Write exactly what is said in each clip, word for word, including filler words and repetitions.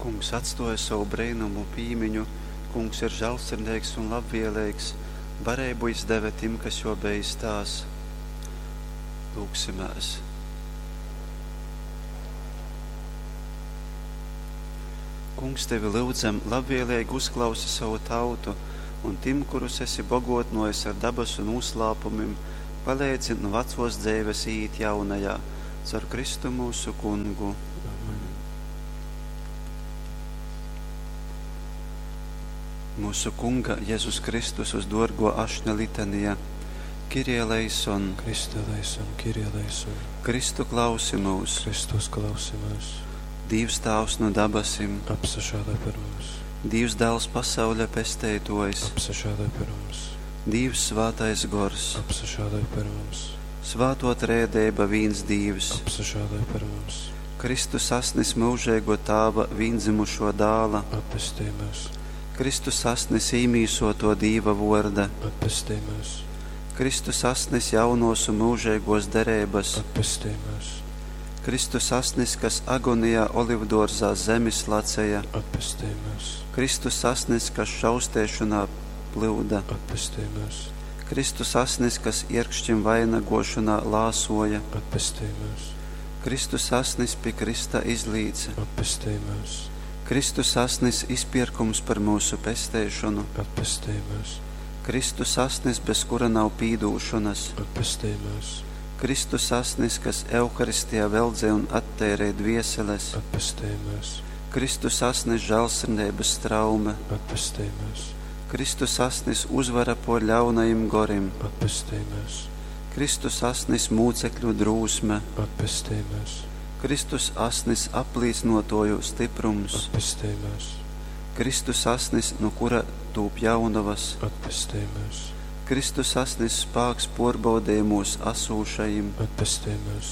Kungs atstōja sovu breinumu pīmiņu, Kungs ir žālsirdeigs un labvēleigs, bareibu jys deve tim, kas jō beistās. Lūgsimēs. Kungs, tevi lyudzam, labvēleigi uzklausi savu tautu un tim, kurus esi bogotnojis ar dabasu nūslāpumim, paleidzi nu vacōs dzeives īīt jaunajā, caur Kristu myusu Kungu. Amen. Mūsu Kunga Jezus Kristus uz dōrgō ašņa litanija. Kyrie eleison, Christe eleison, Kyrie eleison. Kristu klausi mūs, Kristus klausi mūs. Dīvs Tāvs nu dabasim, Apsažāloj par mums. Dīvs Dāls pasauļa pesteitōjs, Apsažāloj par mums. Dīvs Svātais Gors, Apsažāloj par mums. Svāto Trejadeiba vīns Dīvs, Apsažāloj par mums. Kristus asnis myužeigo Tāva vīndzimušo dāla, Atpestej mūs. Kristus asnis īmīsoto Dīva vorda, Atpestej mūs. Kristus asnis jaunos un mūžīgos dereibas, Atpestej mūs. Kristus asnis, kas agonijā olivdōrzā zemi slaceja, Atpestej mūs. Kristus asnis, kas šaustēšanā plyuda, Atpestej mūs. Kristus asnis, kas ierkšķim vainagošanā lāsoja, Atpestej mūs. Kristus asnis pie Krista izlīca, Atpestej mūs. Kristus asnis izpirkums par mūsu pesteišanu, Atpestej mūs. Kristus asnis, bez kura nav pīdūšanas, Atpestej mūs. Kristus asnis, kas Euharistijā veldzē un attērē dvieseles, Atpestej mūs. Kristus asnis žēlsirdības straume, Atpestej mūs. Kristus asnis uzvara por ļaunajim gorim, Atpestej mūs. Kristus asnis mūcekļu drūsme, Atpestej mūs. Kristus asnis aplīcnotoju stiprums, Atpestej mūs. Kristus asnis, no kura tūp jaunavas, Atpestej mūs. Kristus asnis spāks porbaudījumos asūšajim, Atpestej mūs.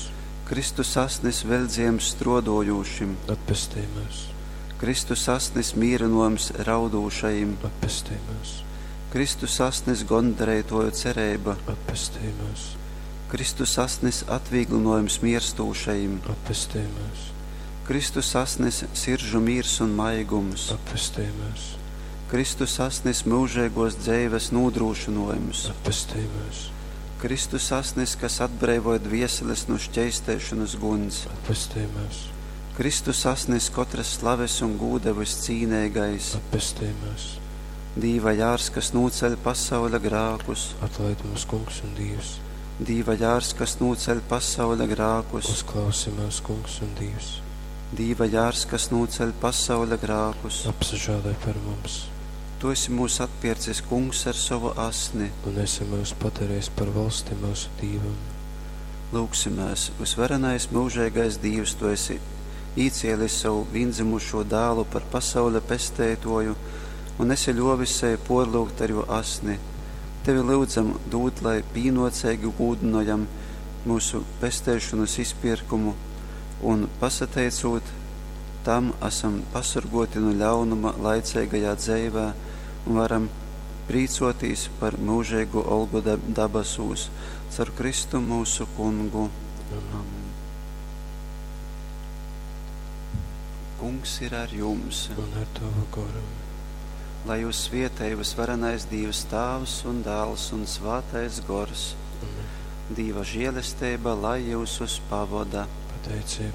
Kristus asnis veldziem strodojušim, Atpestej mūs. Kristus asnis mīrinojums raudūšajim, Atpestej mūs. Kristus asnis gondarētoju cerība, Atpestej mūs. Kristus asnis atvieglinojums mirstūšajim, Atpestej mūs. Kristus asnis siržu mīrs un maigums, Atpestej mūs. Kristus asnis mūžīgos dzeives nodrošinojums, Atpestej mūs. Kristus asnis, kas atbrīvoja dvieseles no šķeistēšanas guns, Atpestej mūs. Kristus asnis katras slaves un gūda viscīnīgais, Atpestej mūs. Dīva jārs, kas nūceļ pasauļa grākus, Atlaid mūs, Kungs un Dievs. Dīva jārs, kas nūceļ pasauļa grākus, Uzklausi mūs, Kungs un Dievs. Dīva jārs, kas nūceļ pasauļa grākus. Apsažāloj par mums Tu esi mūs atpircis, Kungs, ar savu asni. un esi mūs padarījis par valsti mūsu Dīvam. Lūgsimies, visvarenais mūžīgais Dievs, tu esi īcielis savu viendzimušo dēlu par pasaules pestētoju un esi ļovis sevi porlūgt ar jo asni. Tevi lūdzam dūt, lai pīnocīgi gūdinojam mūsu pestēšanas izpirkumu un pasateicot tam esam pasargoti no ļaunuma laicīgajā dzīvē un varam prīcotīs par mūžīgu olgu dab- dabasūs caur Kristu mūsu kungu. Amen. Amen. Kungs ir ar jums, Un ar tavu goru. lai jūs svietēj visvarenais Dievs Tāvs un Dēls un Svātais Gors. Amen. Dieva žēlestība, lai jūs pavada. Pateicība